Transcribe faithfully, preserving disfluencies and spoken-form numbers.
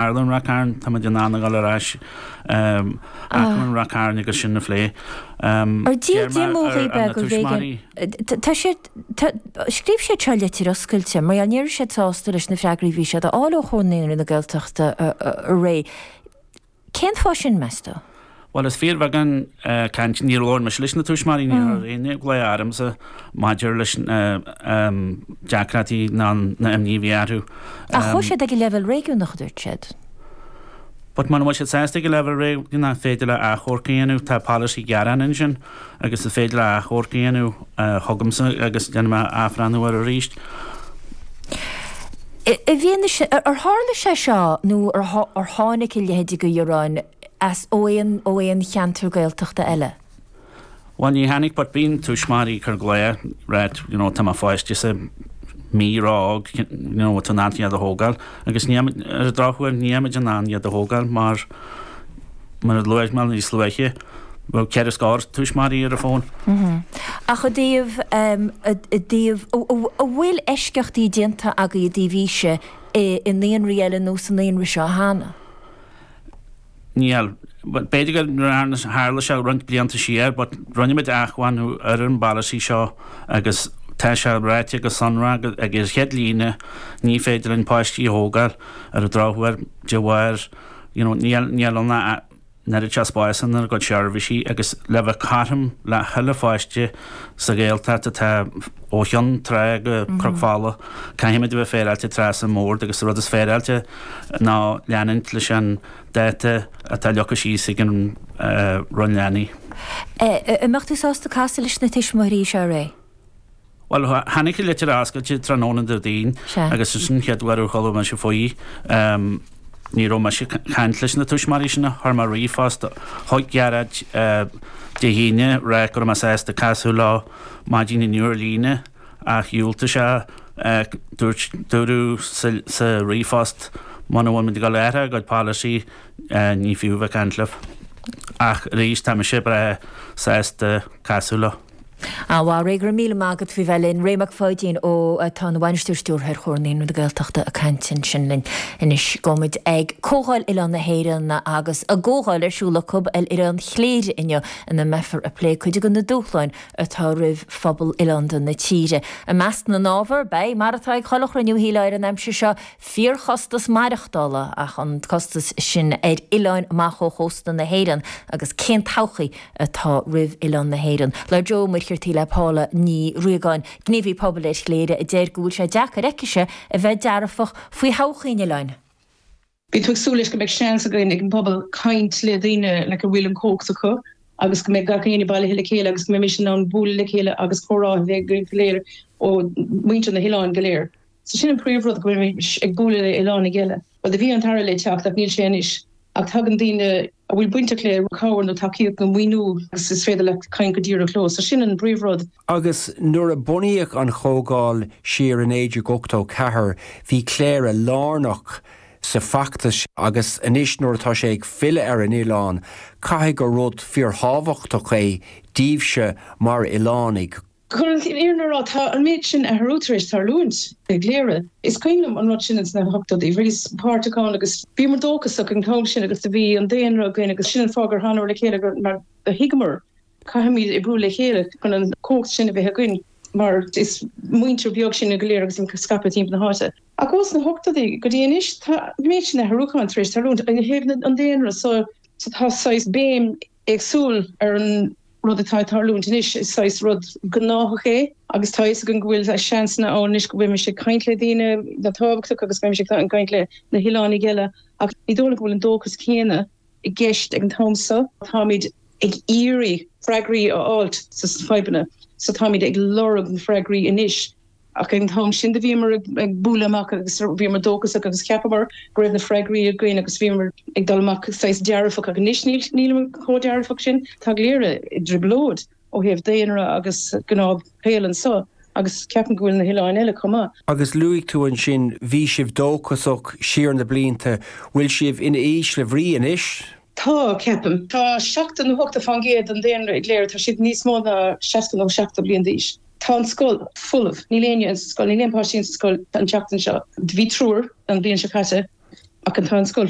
Tharla in Ráth Cairn, tá muid in ann a dhul ar ais acmhainn Ráth Cairn agus sin a phlé. Ar díol díomódh é go bhféidir Tá siad scríobh siad seo litir oscailte, mar ní raibh siad sásta leis na freagraí bhí siad a fháil ó Chomhar Naíonraí na Gaeltachta aré. Cén fáth sin meas tú? Bhuel is fíorbheagán caint níor labhair mise leis na tuismitheoirí ní raibh aon ghlao ormsa maidir leis na deacrachtaí ná na imní a bhí orthu. Ach chuaigh siad ag an leibhéal réigiúnach a dúirt siad. But muna bhfuil siad sásta ag an leibhéal réigiúnach féidir le achomharc a dhéanamh, tá polasaí gearán ansin agus is féidir le achomharc a dhéanamh chugamsa agus déanfaidh mé athbhreithniú air arís. I bhfianaise, ar tharla sé seo nó ar tháinig a leithéid de ghearáin as ó aon ó aon cheantar Gaeltachta eile? Bhuel ní tháinig but bíonn tuismitheoirí ag cur glao right you know tá mo pháiste sa mí ró-óg you know tá in ann iad a thógáil agus ní ar an drochuair nílimid in ann iad a thógáil mar mar a luaigh mé níos luaithe bheadh ceithre scór tuismitheoirí ar an bhfón. Ach i dtaobh i dtaobh an bhfuil eisceachtaí déanta agaibh i dtaobh aoise i naíonraí eile nó sa naíonra seo cheana? Níl. B'fhéidir go tharla sé roinnt blianta siar, but rinne muid athbhreithniú ar an bpolasaí seo agus tá sé ráite go sonrach ag an chéad líne ní féidir linn páistí a thógáil ar an drochuair de bharr you know níl níl ann an oiread seo spáis inár gcuid seirbhísí agus le bheith cothrom le chuile pháiste sa Ghaeltacht atá ó Chionn Trá go Cnoc Fola caithfimid a bheith féaráilte trasna an mbord agus an rud is féaráilte ná leanúint leis an dáta atá leagtha síos ag an Roinn Leanaí. An mbeadh tú sásta casadh leis na tuismitheoirí seo a Ray? Bhuel, tháinig an litir oscailte tráthnóna Déardaoin agus sin an chéad uair a chuala mise faoi. Ní raibh mise ag caint leis na tuismitheoirí sin, chuir mé ríomhphost chuig Gearóid Dé hAoine ag rá go raibh mé sásta casadh leo maidin inniu ar líne ach dhiúltaigh sé. Dúirt, dúradh sa ríomhphost muna bhfuil muid ag dul a athrú ár gcuid polasaí ní fiú bheith ag caint libh. Ach arís tá mise breá sásta casadh leo. Á, a Ray, go raibh míle maith agat faoi bheith linn. Ray Mac Pháidín ó atá ina bhainisteoir stiúrtha ar Chomhar Naíonraí na Gaeltachta ag caint ansin linn. Anois gabhfaidh muid ag Comhdháil Oileán na hÉireann agus a gcomhdháil ar siúl acu ar Oileán Chléire inniu ina mbeifear ag plé cuid de na dúshláin atá roimh phobal oileánda na tíre. I measc na n-ábhar, beidh, mar atá ag chuile chruinniú shílfeá ar an aimsir seo, fíorchostas maireachtála, ach an costas sin ar oileáin amach ó chósta na hÉireann agus cén todhchaí atá roimh oileán na hÉireann. Labhair Joe Ó Muircheartaigh le Paula Ní Riagáin, gníomhaí pobail ar Chléire, a deir go bhfuil sé deacair aicise a bheith dearfach faoi thodhchaí an oileáin. Bhí tú ag súil leis go mbeidh seans againn ag an bpobal caint le daoine like a bhfuil an chumhacht acu agus go mbeidh gach éinne bailithe le chéile agus go mbeimis in ann bualadh le chéile agus comhrá a bheith againn go léir ó muintir na hoileáin go léir. So sin an príomhrud go mbeimis ag bualadh le oileánaigh eile. Bhuel do bhí an tAire le teacht ach níl sé anois. Ach tagann daoine a bhfuil bainteach le cabhair nó tacaíocht nó maoiniú agus is féidir leat caint go díreach leo. So sin an príomhrud. Agus nuair a bunaíodh an Chomhdháil siar i naoi déag ochtó ceathair, bhí Cléire lárnach sa bhfeachtas agus anois nuair atá sé ag filleadh ar an oileán, caithfidh gur rud fíorthábhachtach é daoibhse mar oileánaigh. Chun an fhírinne a rá, tá an méid sin athrú tar éis tarlúint i gCléire. Is cuimhin liom an rud sin ins na hochtóidí. Bhíos páirteach ann agus bhíomar dóchasach an t-am sin agus do bhí an daonra againn agus sin an fáth gur thánamar le chéile gur mar do thuigeamar caithfimid oibriú le chéile chun an chumhacht sin a bheith againn mar is muintir beag sinne go léir agus scaipthe timpeall na háite. Ach ós na hochtóidí go dtí anois tá an méid sin athrúcháin tar éis tarlúint ó thaobh an daonra so tá saghas béim éagsúil ar an rud atá ag tarlúint anois. Is saghas rud gnáthach é agus tá a fhios againn go bhfuil seansanna ann anois go mbeimis ag caint le daoine tábhachtach agus beimis ag caint le na hoileánaigh eile ach ní dóigh liom go bhfuil an dóchas céanna i gceist ag an t-am seo. Táimid ag iarraidh freagraí a fháilt sna fadhbanna so táimid ag lorg na freagraí anois. Ach ag an t-am sin do bhíomar ag bualadh amach agus bhíomar dóchasach agus cheapamar go raibh na freagraí againn agus bhíomar ag dul amach saghas dearfach ach anois nílimid chomh dearfach sin. Tá Cléire i dtrioblóid ó thaobh daonra agus gnáthshaol anseo agus ceapaim go bhfuil na hoileáin eile chomh maith. Agus luaigh tú ansin bhí sibh dóchasach siar na blianta, bhfuil sibh in ísle bhrí anois? Tá, ceapaim. Tá seachtó nó ochtó fán gcéad den daonra i gCléire, tá siad níos mó ná seasca nó seachtó bliain d'aois. Tá an scoil folamh. Níl éinne insa scoil, níl aon páistí insa scoil an tseachtain seo. Bhí triúr an bhliain seo caite. Ach an tá an scoil